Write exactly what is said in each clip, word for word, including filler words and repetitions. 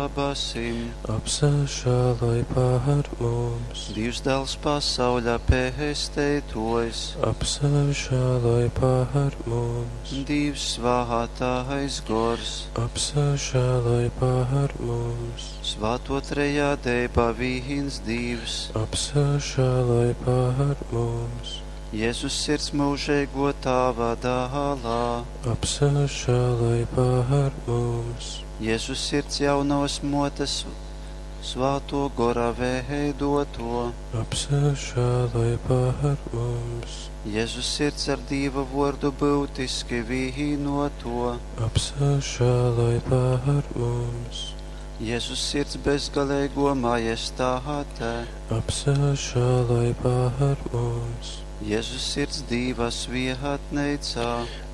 Dabasim. Apsažāloj par mums. Dīvs dāls pasauļa pesteituojs. Apsažāloj par mums. Dīvs svātais gors. Apsažāloj par mums. Svāto trejādeiba vīns Dīvs. Apsažāloj par mums. Jēzus sirds mūžīgo tāva dālā. Apsažāloj par mums. Jēzus sirds jaunavas motes svāto gora veidoto. Apsažāloj par mums. Jēzus sirds ar Dīva vordu būtiski vīnoto. Apsažāloj par mums. Jēzus sirds bezgalīgo majestāte. Apsažāloj par mums. Jēzus sirds Dīva svietneicā.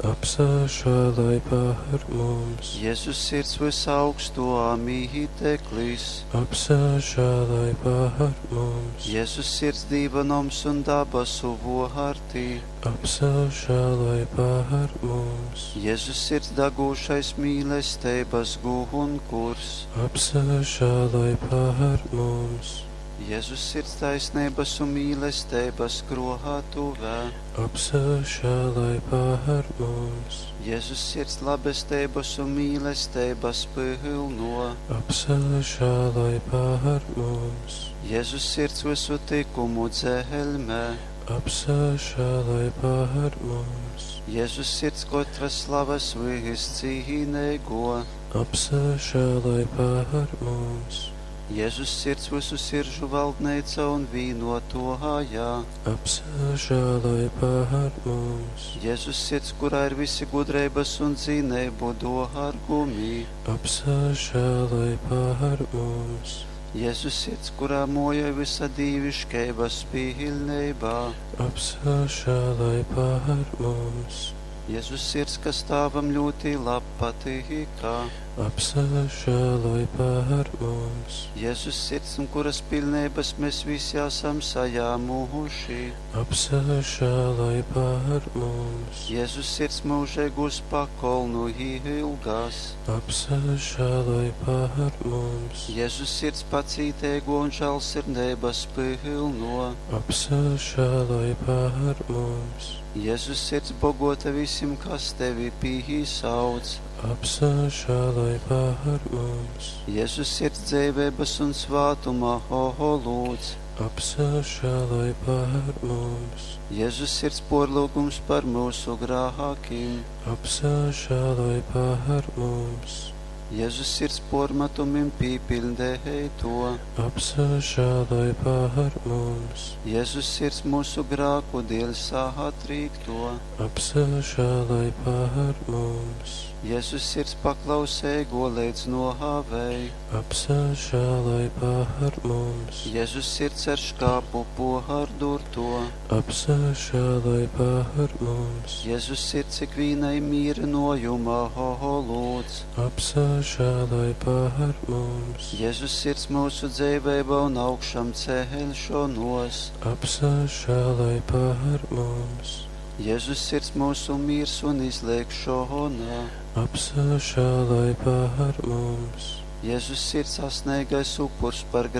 Apsažāloj par mums. Jēzus sirds visaugsto mīteklis. Apsažāloj par mums. Jēzus sirds Dīva noms un dabasu vārtī. Apsažāloj par mums. Jēzus sirds degūšais mīlestības gunkurs. Apsažāloj par mums. Jēzus sirds taisnības un mīlestības krātuvē. Apsažāloj par mums. Jēzus sirds labestības un mīlestības pilno. Apsažāloj par mums. Jēzus sirds visu tikumu dzelmē. Apsažāloj par mums. Jēzus sirds katras slavas viscīnīgo. Apsažāloj par mums. Jēzus sirds visu siržu valdneica un vīnotohājā. Apsažāloj par mums. Jēzus sirds, kurā ir visi gudrības un zinību dārgumi. Apsažāloj par mums. Jēzus sirds, kurā moja visa dīviškeibas pilnībā. Apsažāloj par mums. Jēzus sirds, kas tēvam ļoti lab patīkā. Apsažāloj par mums. Jēzus sirds, un kuras pilnības mēs visi esam saņēmuši. Apsažāloj par mums. Jēzus sirds mūžīgos pakolnu ilgās. Apsažāloj par mums. Jēzus sirds pacītīgo un žēlsirdības pilno. Apsažāloj par mums. Jēzus sirds bogota visiem, kas tevi pīsauc. Apsažāloj par mums. Jēzus sirds dzīvības un svātuma ho lūdz. Apsažāloj par mums. Jēzus sirds porlūgums par mūsu grākiem. Apsažāloj par mums. Jēzus sirds pormetumim pīpildēto. Apsažāloj par mums. Jēzus sirds mūsu grāku dēļ satrīkto. Apsažāloj par mums. Jēzus sirds paklausīgo līdz nohāvei. Apsažāloj par mums. Jēzus sirds ar škāpu pohardurto. Apsažāloj par mums. Jēzus sirds ikvienai mīrinojuma ho lūdz. Apsažāloj par mums. Jēzus sirds mūsu dzīvība un augšām celšanos. Apsažāloj par mums. Jēzus sirds mūsu miers un izlēkšana. Apsažāloj par mums. Jēzus sirds asnīgais upurs par